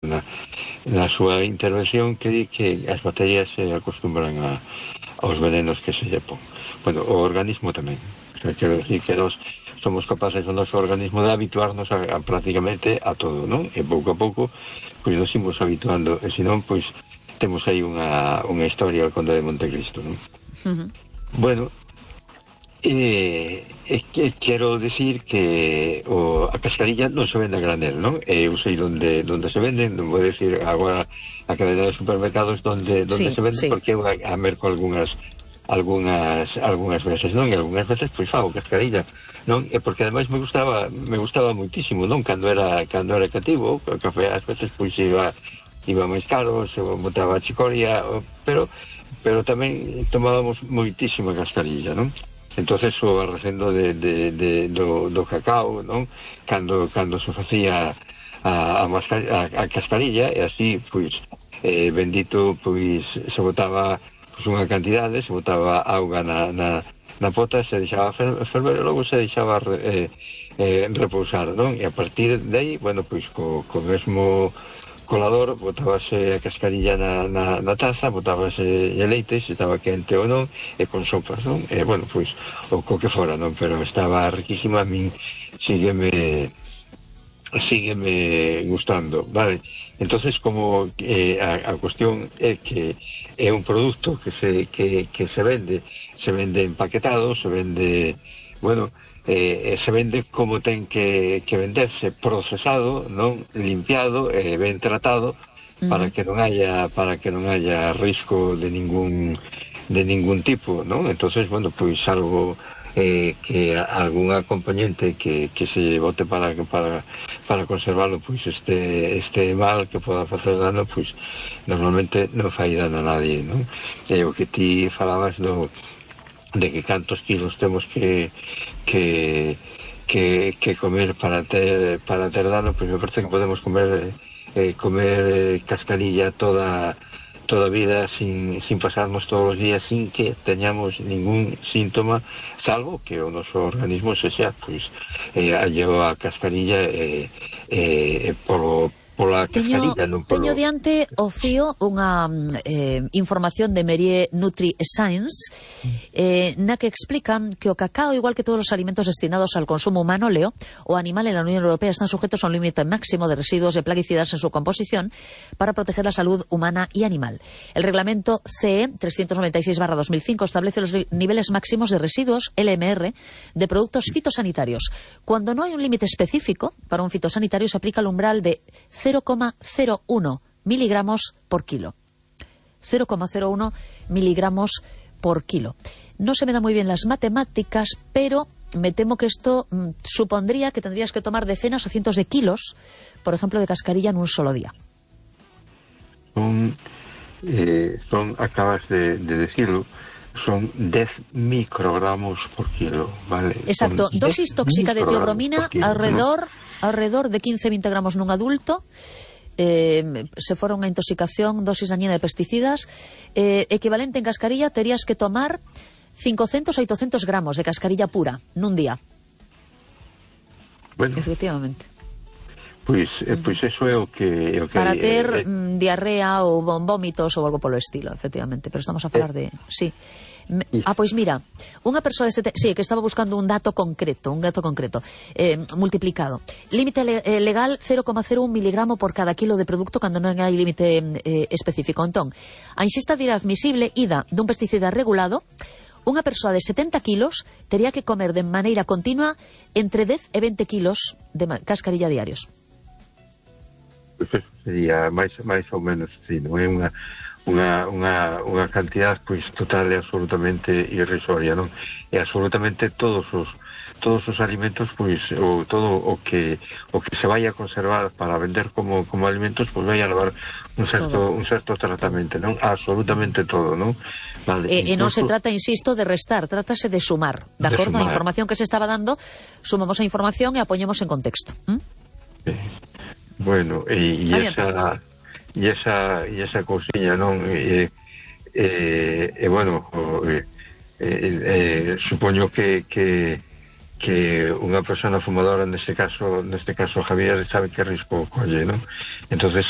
na súa intervención que di que as bacterias se acostumbran aos venenos que se lle pon. Bueno, o organismo tamén. O sea, quero decir que nós somos capaces o noso organismo de habituarnos a prácticamente a todo, non? E pouco a pouco pois nos imos habituando, e senón pois temos aí unha historia ao Conde de Montecristo, non? Bueno, quero decir que a cascarilla non se vende a granel, non? Eu sei onde se vende, non vou decir agora a cadena de supermercados onde se vende, porque eu a merco algunhas veces, non? E algunhas veces pois fago cascarilla, non? E porque ademais me gustaba muitísimo, non? Cando era cativo, o café ás veces pois iba máis caro, se botaba a chicoria, pero tamén tomábamos moitísima cascarilla, non? Entonces o recendo do cacao, non? Cando se facía a cascarilla, e así, pois, bendito, pois, se botaba unha cantidade, se botaba auga na pota, se deixaba ferver, e logo se deixaba repousar, non? E a partir de aí, bueno, pois, co mesmo colador, botábase a cascarilla na taza, botábase o leite, se estaba quente ou non, e con sopas, non? E, bueno, pois, o que fora, non? Pero estaba riquísima, a min sígueme gustando, vale? Entonces, como a cuestión é que é un produto que se vende empaquetado, se vende, bueno, se vende como ten que venderse, procesado, non? Limpiado e ben tratado, para que non haya risco de ningún tipo, non? Entonces, bueno, pois algo que algún acompañante que se bote para conservarlo, pois este mal que poda facer dano, pois normalmente non fai dano a nadie, non? E o que ti falabas de que cantos kilos temos que comer para ter dano, pois me parece que podemos comer cascarilla toda a vida sin pasarnos todos os días sin que teñamos ningún síntoma, salvo que o noso organismo se xa pois alleo a cascarilla pola cascarilla, non polo... Teño diante o fío unha información de Merier Nutri Science na que explican que o cacao, igual que todos os alimentos destinados al consumo humano, leo, o animal en la Unión Europea están sujetos a un límite máximo de residuos de plaguicidas en su composición para proteger la salud humana y animal. El reglamento CE 396/2005 establece los niveles máximos de residuos LMR de productos fitosanitarios. Cuando no hay un límite específico para un fitosanitario, se aplica el umbral de 0,01 miligramos por kilo. 0,01 miligramos por kilo. No se me dan muy bien las matemáticas, pero me temo que esto supondría que tendrías que tomar decenas o cientos de kilos, por ejemplo, de cascarilla en un solo día. Acabas de decirlo, son 10 microgramos por kilo, ¿vale? Exacto, dosis tóxica de teobromina alrededor de 15-20 gramos nun adulto. Se fora unha intoxicación, dosis dañina de pesticidas, equivalente en cascarilla, terías que tomar 500 a 800 gramos de cascarilla pura nun día. Bueno, efectivamente. Pois eso é o que para ter diarrea ou vómitos ou algo polo estilo, efectivamente, pero estamos a falar de... Sí. Pois mira, unha persoa de sí, que estaba buscando un dato concreto, multiplicado. Límite legal 0,01 miligramo por cada kilo de producto cando non hai límite específico. Entón, a ingesta dirá admisible ida dun pesticida regulado, unha persoa de 70 kilos tería que comer de maneira continua entre 10 e 20 kilos de cascarilla diarios. Pois eso sería máis ou menos, sí, non é unha cantidad pois total e absolutamente irrisoria, non? E absolutamente todos os alimentos, pois, ou todo o que se vai a conservar para vender como alimentos, pois vai a levar un certo tratamento, non? Absolutamente todo, non? Vale, e non se trata, insisto, de restar, trátase de sumar, de acordo á información que se estaba dando, sumamos a información e a poñemos en contexto. Bueno, e esa cousiña, non? Bueno, supoño que unha persona fumadora neste caso Javier sabe que risco colle, ¿no? Entonces